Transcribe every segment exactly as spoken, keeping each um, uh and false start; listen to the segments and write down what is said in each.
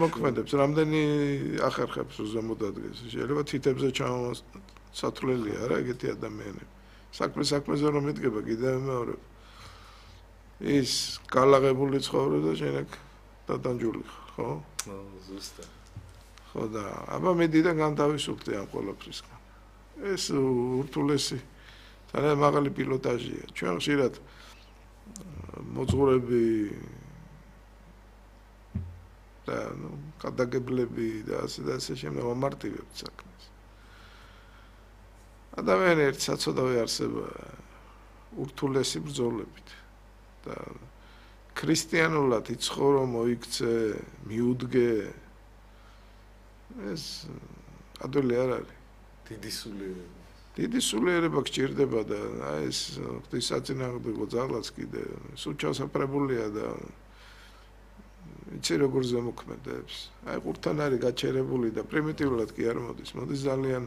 მოქმედებს, რამდენი ახერხებს ზემოთ ადგეს. შეიძლება თითებზე ჩამოსათვლელია რა ეგეთი ადამიანები. საქმე საქმეზე რომ მიდგება კიდევ მეორე. ის გალაღებული ცხოვრება და შენ აქ დადანჯული ხარ, ხო? ხო, ზუსტად. ხო და აბა მე დიდან განთავისუფლდი ამ ყველაფრისგან. ეს ურთულესი ძალიან მაღალი პილოტაჟია. ჩვენ ხშირად მოძღვრები და ნუ გადაგებლები და ასე და ასე შემდეგ მომარტივებთ საქმეს. ადამიანი ერთ საწოდავი არსება ურთულესი ბრძოლებით და ქრისტიანულად იცხოვრო, მოიქცე, მიუდგე ეს ადვილი არ არის. დიდი სულიერება. დიდი სულიერება გჭირდება და აი ეს ღვთისაწინააღმდეგო ძალაც კიდე სულ ჩასაფრებულია და იცი როგორ ზემოქმედებს. აი ყურთან არის გაჩერებული და პრიმიტიულად კი არ მოდის. მოდის ძალიან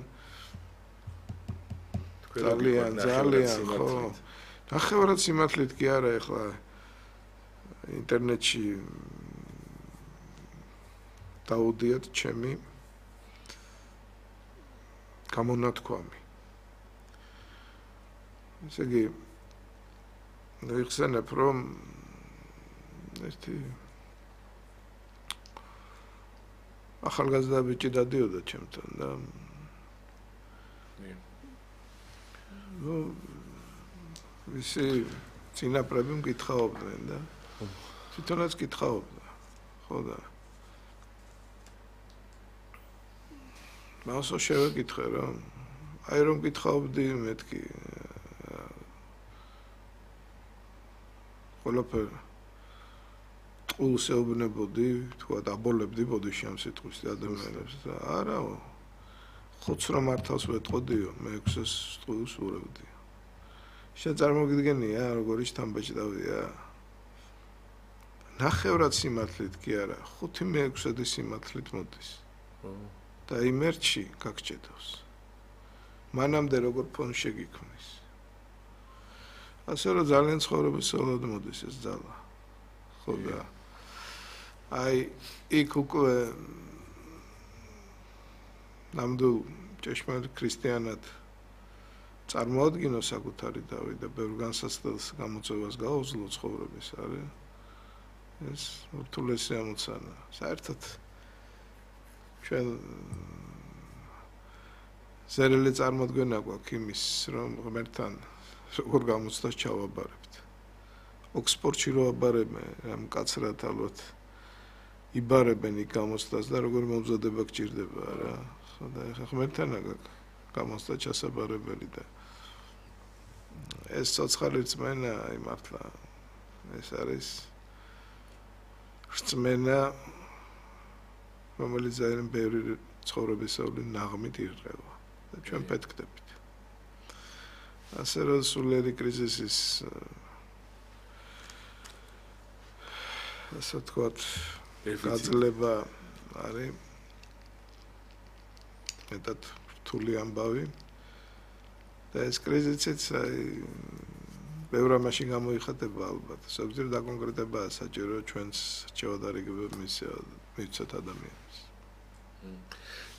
ძალიან ძალიან ხო. ნახევრად სიმართლით კი არა ეხლა ინტერნეტში დაუდიათ ჩემი გამონათქვამი. ესე იგი ვიხსენებ რომ ერთი ახალგაზრდა ბიჭი დადიოდა ჩემთან და ნუ ვისი წინაპრები მკითხაობდნენ და თვითონაც კითხაობდა ხო და მასო შევეკითხე რომ აი რომ კითხაობდი მეთქი ყველაფერი ტყუილს ეუბნებოდი თქვა დაბოლებდი ბოდიში ამ სიტყვის ადამიანებს და არა ხუთს რომ მართავს ვეტყოდიო მე ექვსს ტყუილს ურევდი შენ წარმოგიდგენია როგორი შთამბეჭდავია ნახევრად სიმართლით კი არა ხუთი მე ექვსადი სიმართლით მოდის და იმერჩი გაგჭედავს მანამდე როგორ ფონს შეგიქმნის ასე რომ ძალიან ცხოვრებისეულად მოდის ეს ძალა ხო და აი იქ უკვე ნამდვილ ჭეშმარიტ ქრისტიანად წარმოადგინო საკუთარი დავი და ბევრ განსაცდელს გამოწვევას გაუძლო ცხოვრების არის ეს ურთულესი ამოცანა საერთოდ ჩვენ ზერელი წარმოდგენა გვაქვს იმის რომ ღმერთთან როგორ გამოცდას ჩავაბარებთ ოქსფორდში რო აბარებენ ამ კაცრად ალბათ იბარებენ იქ გამოცდას და როგორ მომზადება გჭირდება რა ხო და ეხა ღმერთთან გამოცდა ჩასაბარებელი და ეს ცოცხალი რწმენა აი მართლა ეს არის რწმენა რომელიც ძალიან ბევრი ცხოვრებისეული ნაღმით ირღვევა და ჩვენ პეთქდებით ასე რომ სულიერი კრიზისის ასე ვთქვათ გაძლება არის მეტად რთული ამბავი და ეს კრიზისიც აი ბევრ ამაში გამოიხატება ალბათ ზოგჯერ დაკონკრეტებაა საჭირო ჩვენს რჩევადარიგებად მივცეთ ადამიანებს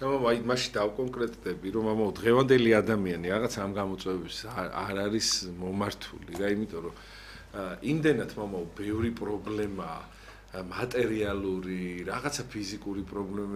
ნუ აი მაშინ დავკონკრეტდები რომ ამო დღევანდელი ადამიანი რაღაც ამ გამოწვევების არ არის მომართული რა იმიტომ რომ იმდენად მომო ბევრი პრობლემაა მატერიალური რაღაცა ფიზიკური პრობლემა